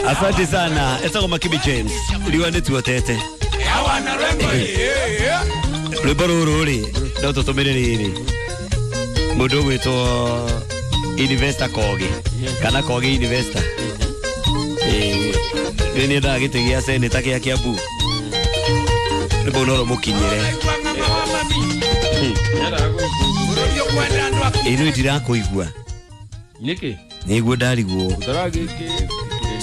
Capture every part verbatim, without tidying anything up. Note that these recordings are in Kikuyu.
Asante sana. Etagwo Makibi James. Riwa nĩ tuotete. Rwĩmbo rũrũ rĩ no tũtũmĩre rĩrĩ mũndũ ũgwĩtwo Investor Kogi kana Kogi Investor. Eh, nĩ nĩendaga gĩtĩ gĩa seneta gĩa Kiambu. Rwĩmbo no rũmũkinyĩre. Ĩno ndirakũigua. Nĩkĩ? Nĩguo ndarigwo.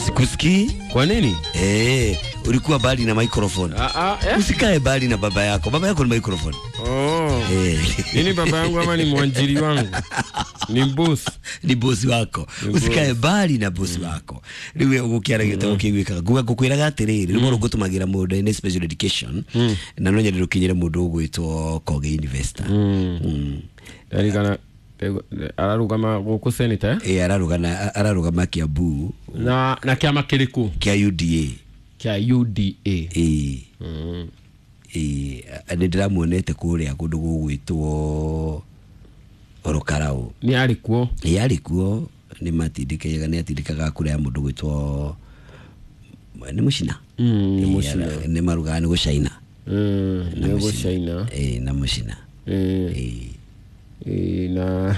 Sikusikii. Kwa nini? Eh, ulikuwa mbali na microphone. Ah, ah, eh? Usikae mbali na baba yako. Baba yako ni microphone. Oh. Eh. Nini baba yangu ama ni mwanjiri wangu? Ni boss. Ni boss wako. Ni Usikae boss. mbali na boss wako. Riu ugukiara gitabo kiguikaga. Nguga ngukwiraga atiriri, rwimbo rũngũtũmagĩra mũndũ ene special education na no nyende rũkinyĩre mũndũ ũgwĩtwo Kogi Investor. Mm. Ndarikana ararugama gũkũ senator Eh, ararugana ararugama Kiambu na na kĩama kĩrĩkũ? Kĩa U D A. Kĩa U D A. Eh. Mm. Eh, nĩ ndĩramuonete kũrĩa kũndũ gũgwĩtwo Orokarau. Nĩ arĩ kuo? Ĩ, arĩ kuo, nĩ matindĩkaga, nĩ atindĩkaga kura ya mũndũ gwĩtwo nĩ Mũcina. Mm, nĩ Ĩ, Mũcina. ara- nĩ marugaga nĩ gũcaina. Mm, Na nĩ Mũcina. gũcaina. Ĩ, na Mũcina. Mm. Ĩ. Ĩ, na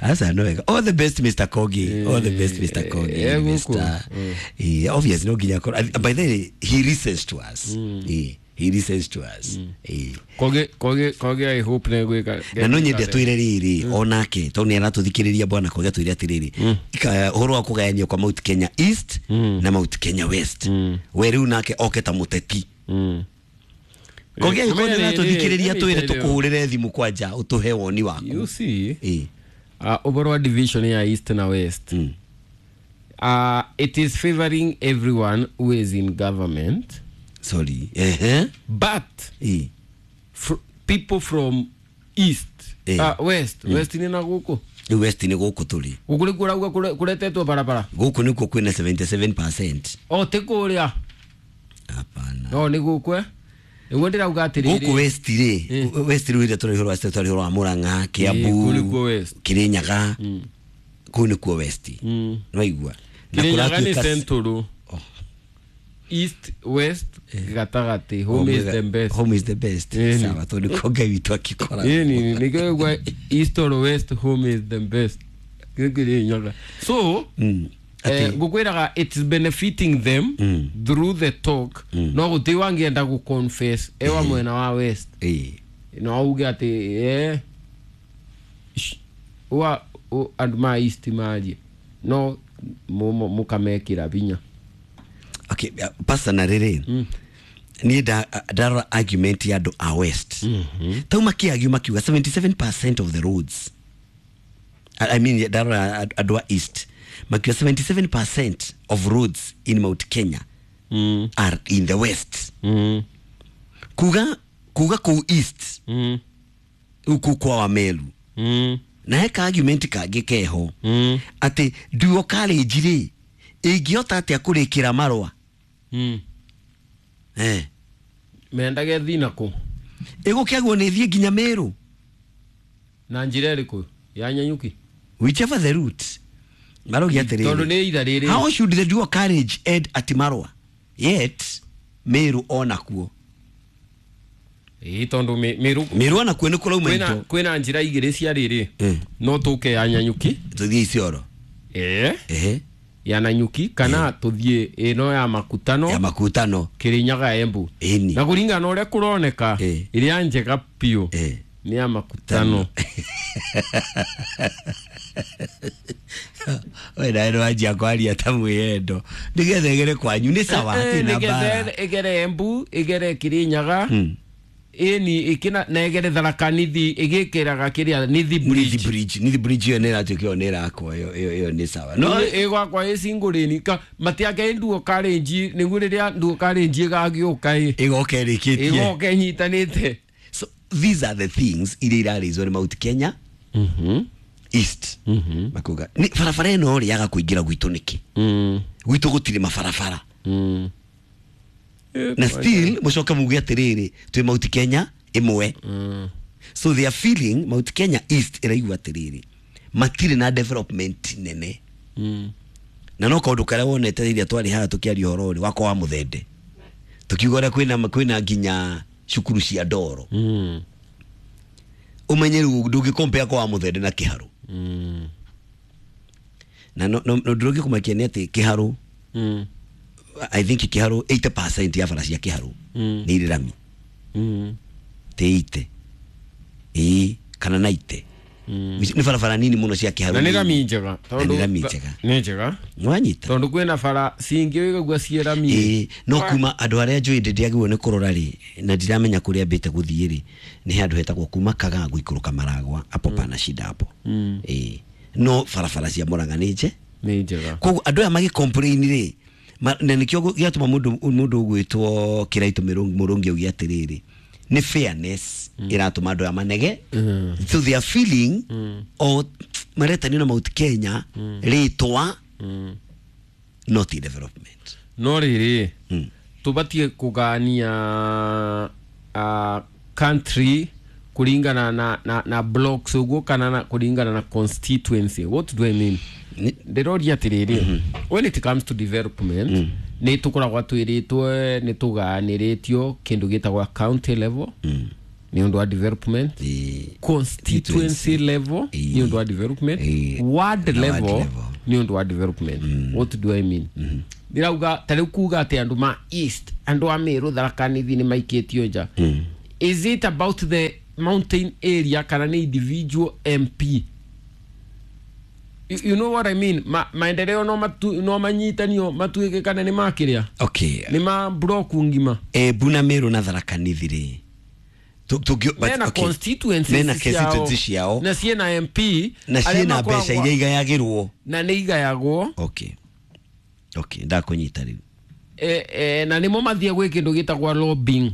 Asa no wega. All the best Mister Kogi. All the best Mister Kogi. Eh, Mister guku. Eh, obviously no nginya akorwo- by the way, he listens to us. Eh, he listens to us. Eh. Kogi, Kogi, Kogi, I hope nĩ gwĩka. Na no nyende atwĩre rĩrĩ onake tondũ nĩ aratũthikĩrĩria bwana Kogi atwĩre atĩrĩrĩ Ika- ũhoro wa kũgayanio kwa Mount Kenya East na Mount Kenya West. We rĩu nake oke ta mũteti. Mm. Kogi angĩkorwo nĩ Rĩrĩ, ũratũthikĩrĩria rĩrĩ, twĩre rĩrĩ. tũkũhũrĩre thimũ kwanja ũtũhe woni waku. You see? Eh. Uh, overall division ya East na West. Mm. Uh, it is favoring everyone who is in government. Sorry. Eh. But Eh. fr- people from East, Eh. uh, West, West ni na guku. Rĩu West nĩ gũkũ tũrĩ. Guku nĩ kũrauga kũre-, kũretetwo barabara. Gũkũ nĩkuo kwĩna seventy-seven percent. O, ti kũrĩa. Hapana. No, nĩ gũkũ, eh? Nĩguo ndĩrauga atĩrĩrĩ. Gũkũ West rĩ, Eh. West rĩu rĩrĩa tũrĩ ũhoro wa West, tũrĩ ũhoro wa Murang'a, Kiambu, Eh, kũu nĩkuo West. Kirinyaga. Kũu nĩkuo West. Mm. Nĩwaigua? Na Kirinyaga nĩ kũratuĩka Central. Oh. East, West, gatagatĩ. Home is the best. Home is the best. Eh, Sawa, tondũ nĩkuo Ngai witũ akĩkora. Ĩni, nĩkĩo ũigua East or West, home is the best. Kĩu Kirinyaga. So, Mm. eh, Atĩ- ngũkwĩraga it's benefiting them Mm. through the talk. No gũtirĩ wangĩenda gũ confess ewa mwena wa West. Eh. No auge atĩ, eh, sh-, wa, o, andũ ma East marie. No mu-, mu-, mũkamekĩra binya. Okay, uh, personally rĩ, Mm. niĩ nda-, ndarora argument ya andũ a West. Mm-hmm. Tau makĩargue makiuga seventy-seven percent of the roads. I, I mean, ndarora andũ a East. Makiuga seventy-seven percent of roads in Mount Kenya Mm. are in the West. Mm. Kuga, kuga kũu East, Mm. rĩu kũu kwa Wameru. Mm. Na heka argument kangĩ keho. Mm. Atĩ Duo College rĩ, ĩngĩhota atĩa kũrĩkĩra marũa? Mm. Eh. Mendage thiĩ nakũ? Ĩgũkĩagwo nĩ ĩthiĩ nginya Meru. Na njĩra ĩrĩkũ? Ya Nanyuki? Whichever the route. Maraugia atĩrĩrĩ. Tondũ nĩ ira rĩrĩ. How should the Duo College end at Marua? Yet Meru onakuo. Ĩĩ, tondũ me-, Meru Meru onakuo nĩ kũrauma kwĩna indo. kwĩna njĩra igĩrĩ cia rĩrĩ. Eh. No tũke ya Nanyuki. Tũthiĩ Isiolo. Eh. Ehe. Ya Nanyuki kana Eh. tũthiĩ ĩno ya Makutano. Ya Makutano. Kirinyaga Embu. Ĩni. Na kũringana na ũrĩa kũroneka, Eh. ĩrĩa njega biũ Eh. nĩ ya Makutano. We nawe nĩwanjia kwaria ta mwĩyendo. Nĩgetha ĩgere kwanyu nĩ sawa, Eh, hatirĩ na nĩgetha mbara. ĩgere Embu, ĩgere Kirinyaga. Hmm. Ĩni, ĩkĩna, na ĩgere Tharaka Nithi, ĩgĩkĩraga kĩrĩa Nithi Bridge. Nithi Bridge, Nithi Bridge ĩyo nĩ ĩratuĩka ĩyo nĩ ĩrakwo, ĩyo, ĩyo, ĩyo nĩ sawa. No, Ĩ, ĩgwakwa ĩ cingũrĩni, ka, matiake Nduo College, nĩguo rĩrĩa Nduo College ĩgagĩũka ĩ. Ĩgoka ĩrĩkĩtie. Ĩgoka ĩnyitanĩte. So these are the things iria irarĩizwo nĩ Mount Kenya Mhm. East. Mhm. Makuga, nĩ barabara ĩno rĩ yaga kũingĩra gwitũ nĩkĩ? Mm. Gwitũ gũtirĩ mabarabara. Mm. Na still mũcoke muge atĩrĩrĩ, twĩ Mount Kenya ĩmwe. Mm. So they are feeling Mount Kenya East ĩraigua atĩrĩrĩ, matirĩ na development nene. Mm. Na no kaũndũ karĩa wonete rĩrĩa twarĩ haha tũkĩaria ũhoro rĩ wakwa wa mũthende, tũkiuga ũrĩa kwĩna kwĩna nginya cukuru cia ndoro. Mm. Ũmenye rĩu ndũngĩ compare kwa wa mũthende na kĩharũ. Mm. Na no no no ũndũ ũngĩ kũmakia nĩ atĩ kĩharũ, Mm. I think kĩharũ eighty percent ya bara cia kĩharũ Mm. nĩ irĩ rami. Mm. Ti eighty ĩĩ kana ninety. Mm. Nĩ barabara nini mũno cia kĩharũ. Na nĩ rami njega. Na nĩ rami njega. Nĩ njega. Nĩwanyita. Tondũ kwĩna bara cingĩ wĩgaigua ciĩ rami. Ĩĩ, no kuma andũ arĩa njũĩ ndĩagĩrĩirwo nĩ kũrora rĩ, na ndiramenya kũrĩa ambĩte gũthiĩ rĩ, nĩ handũ hetagwo kuma Kagaa gũikũrũka Maragwa hapo, pana shida hapo. Mm. Ĩĩ, no barabara cia Murang'a nĩ nje. Nĩ njega. Koguo andũ aya magĩ complain rĩ, ma- na nĩkĩo gũ- gĩatũma mũndũ mũndũ ũgwĩtwo Kĩraitũ Mĩrũ- Mũrũngi auge atĩrĩrĩ, nĩ fairness ĩratũma andũ aya manege. Mm. So they are feeling Mm. o maretanio na Mount Kenya rĩtwa, Mm. not in development. No rĩrĩ, Mm. tubatie kũgania uh, country kũringana na, na, na blocks ũguo kana na kũringana na constituency. What do I mean? Ni- Ndĩroria atĩrĩrĩ, when it comes to development, nĩ tũkoragwo twĩrĩtwo nĩ tũganĩrĩtio kĩndũ gĩtagwo county level nĩ ũndũ wa development, Ĩĩ. constituency level Ĩĩ. nĩ ũndũ wa development, Ĩĩ. ward Na ward level level. nĩ ũndũ wa development. What do I mean? Ndĩrauga ta rĩu kuga atĩ andũ ma east, andũ a Meru, Tharaka Nithi nĩ maikĩtio nja. Is it about the mountain area kana nĩ individual M P? you, you know what I mean? Ma, maendeleo no matu, no manyitanio matuĩke kana nĩ makĩrĩa Okay. nĩ ma block ngima. Embu na Meru na Tharaka Nithi rĩ, Tu- tũngĩ- but Mena okay. constituencies Mena ciao, constituency ciao. Na ciĩna M P na arĩa ciĩna makoragwo- mbeca iria igayagĩrwo. Na nĩ igayagwo. okay okay ndakũnyita rĩu. e, e, na nĩmo mathia gwĩ kĩndũ gĩtagwo lobbying,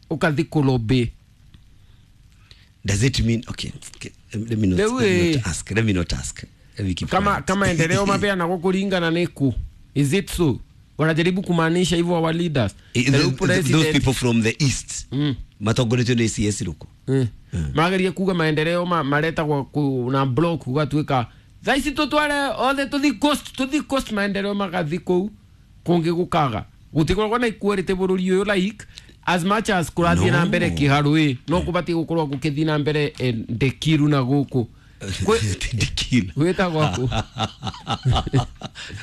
ũkathi kũlobby. Does it mean, okay, okay let me not, Rĩu let me ĩ- not ask, let me not ask, let me keep kama quiet. Kama maendeleo mapeanagwo kũringana nĩ kũ, is it so? Wanajaribu kumaanisha hivyo our leaders? Eh, The the- the- those president- people from the east Mm. matongoretio nĩ C S Ruku. Mm. Magerie kuga maendeleo ma, maretagwo ku, na block gugatuĩka thaa ici tũtware othe tũthi coast tũthi coast maendeleo magathi kũu kũngĩ gũkaga gũtikoragwo na equality bũrũri ũyũ. Like as much as kũrathiĩ No. na mbere kĩharũ ĩ, no kũbatiĩ gũkorwo gũkĩthiĩ na mbere eh, Ndekiru na gũkũ Kwĩ- Ndikil. Gwĩtagwo kũ?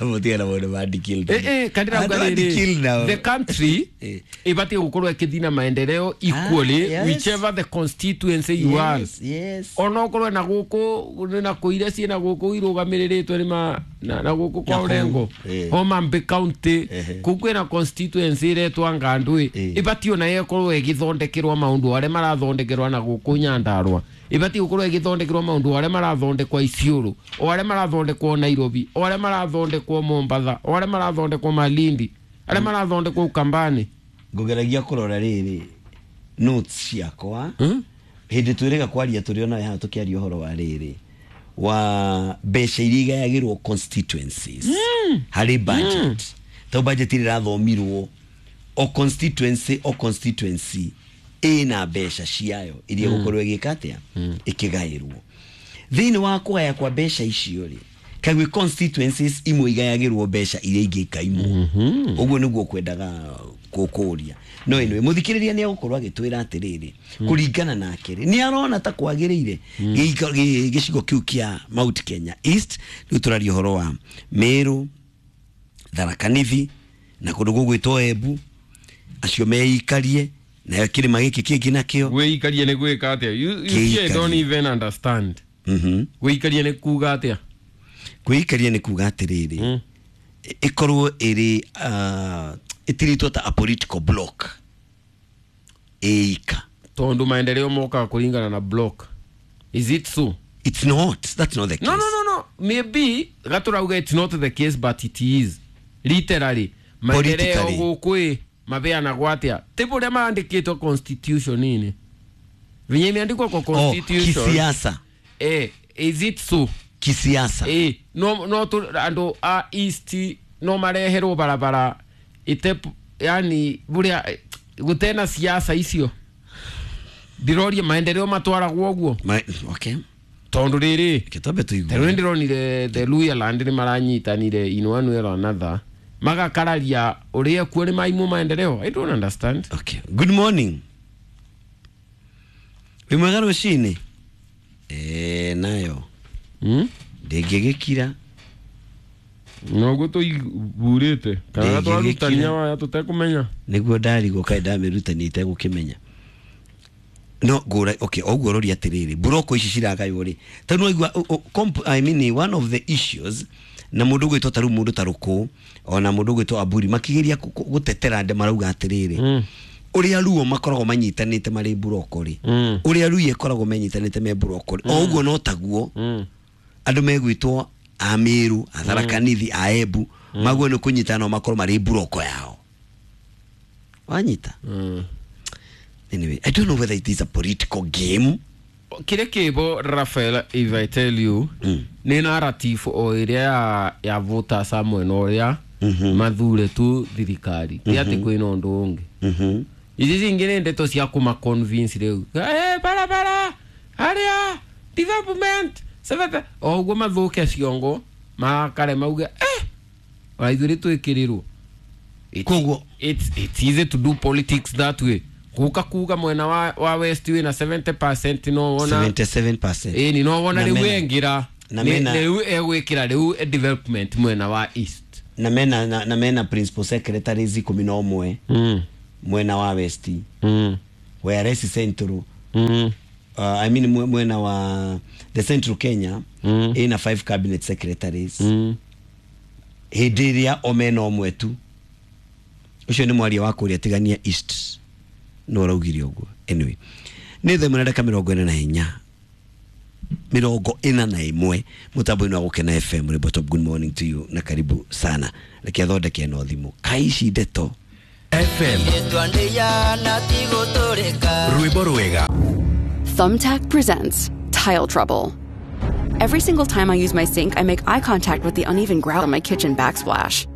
Mũtiga na maũndũ ma Ndikil. Eh, eh, kandira Andũ uga a rĩrĩ, Ndikil nao. the country Eh. ibatiĩ gũkorwo ĩkĩthiĩ na maendeleo equally, Ah, yes. whichever the constituency you are. Yes, yes. Onokorwo na gũkũ na kũ iria ciĩna gũkũ irũgamĩrĩrĩtwo nĩ ma na, na gũkũ kwa Na kũu, Orengo, eh. Homa Bay County, Ehe. kũu kwĩna constituency ĩretwa Ngandũ Eh. ĩbatiĩ ona ĩkorwo ĩgĩthondekerwo maũndũ arĩa marathondekerwo na gũkũ Nyandarua, ĩbatiĩ gũkorwo ĩgĩthondekerwo maũndũ arĩa marathondekwo Isiolo, o arĩa marathondekwo Nairobi, o arĩa marathondekwo Mombatha, o arĩa marathondekwo Malindi, arĩa marathondekwo Ukambani. Ngũgeragia kũrora rĩrĩ notes ciakwa. Hmm? Hĩndĩ twĩrĩga kwaria tũrĩ onawe haha tũkĩaria ũhoro wa rĩrĩ wa mbeca iria igayagĩrwo constituencies harĩ budget, tondũ budget ĩrĩa ĩrathomirwo, o constituency o constituency ĩna mbeca ciayo iria ĩgũkorwo ĩgĩka atĩa, ĩkĩgaĩrwo. Thĩinĩ wa kũgaya kwa mbeca icio rĩ, kaguĩ constituencies imwe igayagĩrwo mbeca iria ingĩ ikaimwo. Ũguo nĩguo kwendaga kũkũria. No anyway, mũthikĩrĩria nĩ egũkorwo agĩtwĩra atĩrĩrĩ, kũringana nake rĩ, nĩ arona ta kwagĩrĩire gĩika- gĩ- gĩcigo kĩu kĩa Mount Kenya East. Rĩu tũraria ũhoro wa Meru, Tharaka Nithi na kũndũ gũgwĩtwo Embu, acio meikarie nayo kĩrĩma gĩkĩ kĩngĩ nakĩo. Gwĩikaria nĩ gwĩka atĩa? you, you see, I Kĩikarie. don't even understand. Mhm. Gwĩikaria nĩ kuga atĩa? Kwĩikaria nĩ kuga atĩrĩrĩ, Mm. ĩkorwo ĩrĩ uh, ĩtirĩtwo ta a political block ĩika. Tondu maendeleo mokaga kũringana na block, is it so? It's not, that's not the case. no no no no maybe gaturauga it's not the case, but it is literally maendeleo. Politically. Gũkũ ĩ mabeanagwo atĩa? Ti ũrĩa maandĩkĩtwo constitution-inĩ, venye imeandikwa kwa Oh, constitution. Kisiasa. Eh, is it so? Kisiasa. Eh, no no tu andũ a east no mareherwo barabara ite, yani buria gutena siasa icio ndiroria maendeleo matwaragwo ũguo. Ma, okay. Tondu riri Kĩtambe tũigue. Tarĩu nĩndĩronire the Luhya land nĩ maranyitanire in one way or another, magakararia ũrĩa kuo nĩ maimũ maendeleo. I don't understand. Okay, good morning. Wĩ mwega rũcinĩ? Eh, nayo mm? ndĩngĩgĩkira. Noguo tũigurĩte kana Ndĩngĩgĩkira. twarutania waya tũtekũmenya. Nĩguo ndarigwo kaĩ ndamĩrutania itegũkĩmenya. No ngũra, okay, ũguo rori atĩrĩrĩ, mburoko ici ciragaywo rĩ, tondũ waigua, I mean, one of the issues na mũndũ ũgwĩtwo ta rĩu mũndũ ta Rũkũ ona mũndũ ũgwĩtwo Aburi makĩgeria kũ- kũ- gũtetera ndĩ marauga atĩrĩrĩ, Mm. ũrĩa Ruo makoragwo manyitanĩte marĩ mburoko rĩ, Mm. ũrĩa Ruia ĩkoragwo menyitanĩte me mburoko rĩ, o ũguo no taguo Mm. andũ megwĩtwo a Meru, a Tharaka Nithi, a Embu maguo nĩ kũnyitana no makorwo marĩ mburoko yao, wanyita? Mm. Anyway, I don't know whether it is a political game. Kĩrĩa kĩbo, Rafael, if I tell you, Mm. nĩ narrative o ĩrĩa ya, ya voters a mwena ũrĩa Mhm. mathure tu thirikari, ti atĩ kwĩna ũndũ ũngĩ. Mhm. Ici cingĩ nĩ ndeto cia kũma convince rĩu, eh, barabara harĩa development sebebe o ũguo mathũke ciongo makare mauge, eh, ona ithuĩ nĩ twĩkĩrĩrwo. It's- Koguo- it's, it's easy to do politics that way, guka kuga mwena wa, wa west wĩna seventy percent, no wona seventy-seven percent. Ĩni no wona Na rĩu mena- engĩra na nĩ- mena- rĩu egwĩkĩra rĩu development mwena wa east. na mena na, na mena principal secretaries ikũmi na ũmwe mm. mwena wa west, mm. whereas central, mm. uh, I mean, mwe- mwena wa the Central Kenya Mm. ina five cabinet secretaries, mm. hĩndĩ ĩrĩa o mena ũmwe tu. Ũcio nĩ mwaria wa kũrĩa tigania east no ũraugire ũguo. Anyway, nĩ thaa ĩmwe na ndagĩka mĩrongo ĩna na inya, mĩrongo ĩna na ĩmwe, mũtambo-inĩ wa Gũkena F M Rwĩmbo Top. Good morning to you na karibu sana. Reke athondeke ĩno thimũ kai ici ndeto. F M rwĩmbo rwega. Thumbtack presents Tile Trouble. Every single time I use my sink, I make eye contact with the uneven grout on my kitchen backsplash.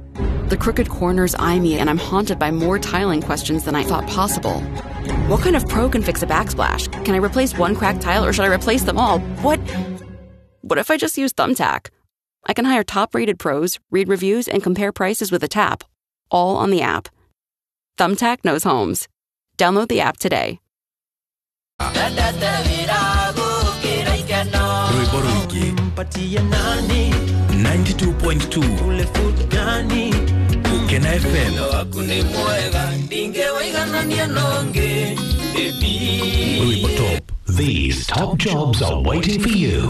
The crooked corners eye me, and I'm haunted by more tiling questions than I thought possible. What kind of pro can fix a backsplash? Can I replace one cracked tile or should I replace them all? What? What if I just use Thumbtack? I can hire top rated pros, read reviews, and compare prices with a tap, all on the app. Thumbtack knows homes. Download the app today. Rwĩmbo rũingĩ ninety-two point two Gũkena F M. Rwĩmbo Top. These top jobs are waiting for you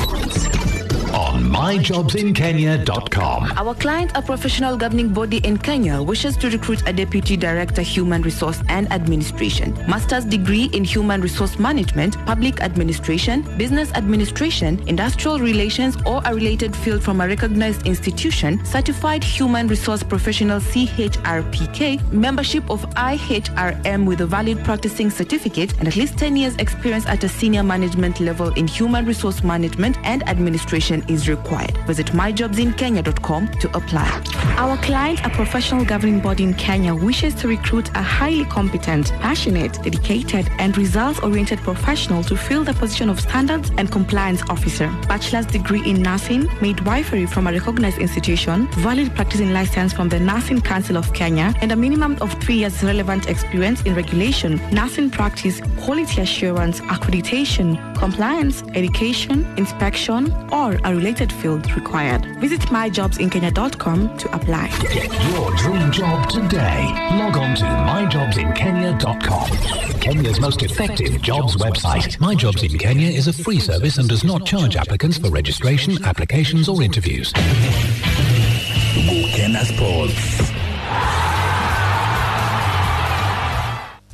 on my jobs in kenya dot com. Our client, a professional governing body in Kenya, wishes to recruit a Deputy Director, Human Resource and Administration. Master's degree in Human Resource Management, Public Administration, Business Administration, Industrial Relations, or a related field from a recognized institution, Certified Human Resource Professional C H R P K, membership of I H R M with a valid practicing certificate, and at least ten years experience at a senior management level in human resource management and administration is required. Visit my jobs in kenya dot com to apply. Our client, a professional governing body in Kenya, wishes to recruit a highly competent, passionate, dedicated, and results oriented professional to fill the position of Standards and Compliance Officer. Bachelor's degree in nursing, midwifery from a recognized institution, valid practicing license from the Nursing Council of Kenya, and a minimum of three years relevant experience in regulation, nursing practice, quality assurance, accreditation, compliance, education, inspection, or a related field required. Visit my jobs in kenya dot com to apply. Get your dream job today. Log on to my jobs in kenya dot com. Kenya's most effective jobs website. My Jobs in Kenya is a free service and does not charge applicants for registration, applications, or interviews. Gũkena Sports.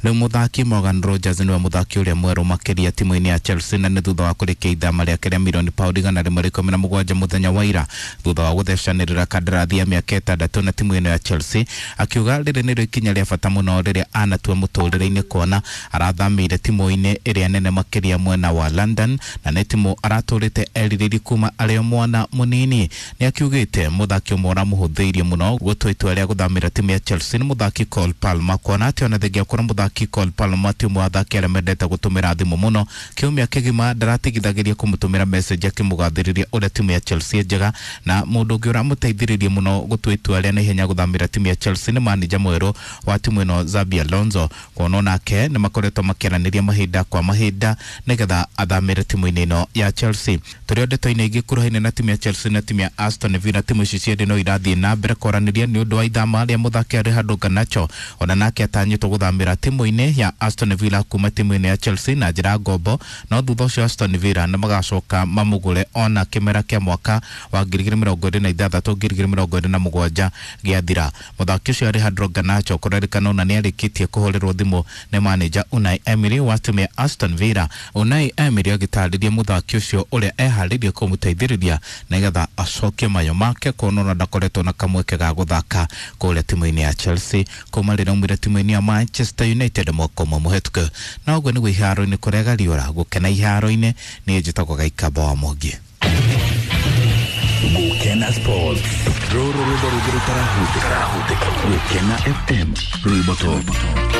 Rĩu mũthaki Morgan Rogers nĩwe mũthaki ũrĩa mwerũ makĩria timu-inĩ ya Chelsea, na nĩ thutha wa kũrĩkia ithama rĩake rĩa mirioni paundi igana rĩmwe rĩa ikũmi na mũgwanja mũthenya wa ira, thutha wa gũthecanĩrĩra kandarathi ya mĩaka ĩtandatũ na timu ĩno ya Chelsea, akiuga rĩrĩ nĩrĩo ikinya rĩa bata mũno rĩrĩa anatua mũtũrĩre-inĩ, kuona arathamĩire timu-inĩ ĩrĩa nene makĩria mwena wa London, na nĩ timu aratũrĩte erirĩrie kuma arĩ o mwana mũnini. Nĩ akiugĩte mũthaki ũmwe ũramũhũthĩirie mũno gũtua itua rĩa gũthamĩra timu ya Chelsea nĩ mũthaki Cole Palmer, kuona atĩ ona thengia gũkorwo mũthaki Mũthaki Cole Palmer ti ũmwe wa athaki arĩa mendete gũtũmĩra thimũ mũno. Kiumia kĩgima ndaratigithagĩria kũmũtũmĩra message akĩmũgathĩrĩria ũrĩa timu ya Chelsea njega, na mũndũ ũngĩ ũramũteithĩrĩria mũno gũtua itua rĩa naihenya gũthamĩra timu ya Chelsea nĩ manĩja mwerũ wa timu ĩno Xabi Alonso, kuona onake nĩ makoretwo makĩaranĩria mahinda kwa mahinda nĩgetha athamĩre timu-inĩ ĩno ya Chelsea. Tũrĩ o ndeto-inĩ ingĩ kuruhaine na timu ya Chelsea na timu ya Aston Villa, timu ici cierĩ no irathiĩ na mbere kwaranĩria nĩ ũndũ wa ithama rĩa mũthaki Alejandro Garnacho, ona nake atanyĩtwo gũthamĩra timu-inĩ ya Aston Villa kuma timu-inĩ ya Chelsea na njĩra ngombo, no thutha ũcio Aston Villa nĩ magacoka mamũgũre ona kĩmera kĩa mwaka wa ngiri igĩrĩ mĩrongo ĩrĩ na ithathatũ ngiri igĩrĩ mĩrongo ĩrĩ na mũgwanja gĩathira. Mũthaki ũcio Alejandro Garnacho kũrerĩkana ona nĩ arĩkĩtie kũhũrĩrwo thimũ nĩ manĩja Unai Emery wa timu ya Aston Villa. Unai Emery agĩtarĩria mũthaki ũcio ũrĩa eharĩirie kũmũteithĩrĩria nĩgetha acokie mayo make, kuona ona ndakoretwo na kamweke ga gũthaka kũrĩa timu-inĩ ya Chelsea kuma rĩrĩa aumire timu-inĩ ya Manchester United mwaka ũmwe mũhetũku. Na ũguo nĩguo iharo-inĩ kũrega riũra gũkena iharo-inĩ. Niĩ njĩtagwo Gaikamba wa Mwangi. Gukena Sports, rũrũ rwĩmbo rũngĩ rũtarahutĩka. Gukena F M, rwĩmbo top.